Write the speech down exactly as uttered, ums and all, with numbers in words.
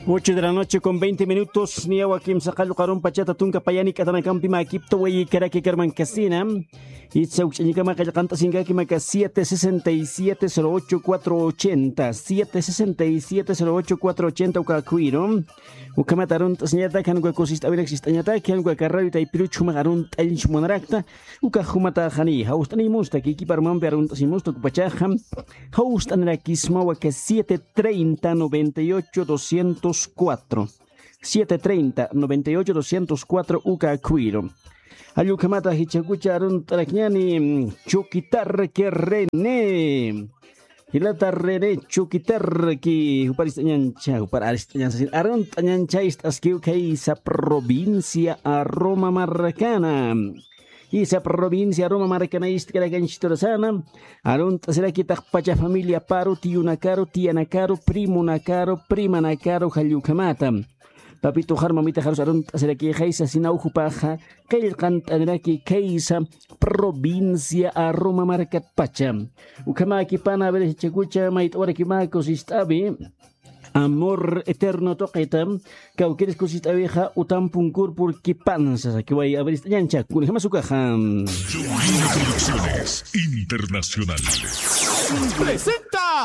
Ocho de la noche con veinte minutos, niyawa kimsa qallqu arunpachata tunka payani k'atanakampi makipta wayikaraki karman kasina. Itsa ukch'añikama qallqant'asinkaki maka siete sesenta y siete cero ocho cuatro ochenta, siete sesenta y siete cero ocho cuatro ochenta uka akhuwiru. Ukhamat arunt'asiñatak, jan uka kusist'awinak sist'añatak, jan uka karrawi taypiruch jumax arunt'añch munarakta, uka jumataxani, jawst'animustak, ikipar mampi arunt'asimustak upachaxa, jawst'anirakisma waka siete treinta noventa y ocho doscientos cuatro. Siete treinta noventa y ocho doscientos cuatro uka akhuwiru. Jall ukhamata jichhakucha arunt'arakñani, mm, Chukitarki René. Jilata René Chukitarki, jupar ist'añancha, jupar arist'añancha, arunt'añancha ist'askiw khaysa provincia Aroma markana. Isa provincia Roma markana ist'karakanchiturasana, arunt'asiraki taqpacha familiaparu, tiyunakaru, tiyanakaru, primonakaru, primanakaru, jall ukhamata. Papituxar mamitaxarus arunt'asiraki khaysa sinaw jupaxa, qillqant'aniraki khaysa provincia Aroma markatpacha. Ukhamakipana, a ver, jichhakucha mayt'awarakimaku sist'awi. Amor eterno tuqita, kawkiris kusist'awixa utam punkur purkipansa, sakiway, a ver, ist'añancha, kunjamas ukaxa. Producciones Internacionales. Presenta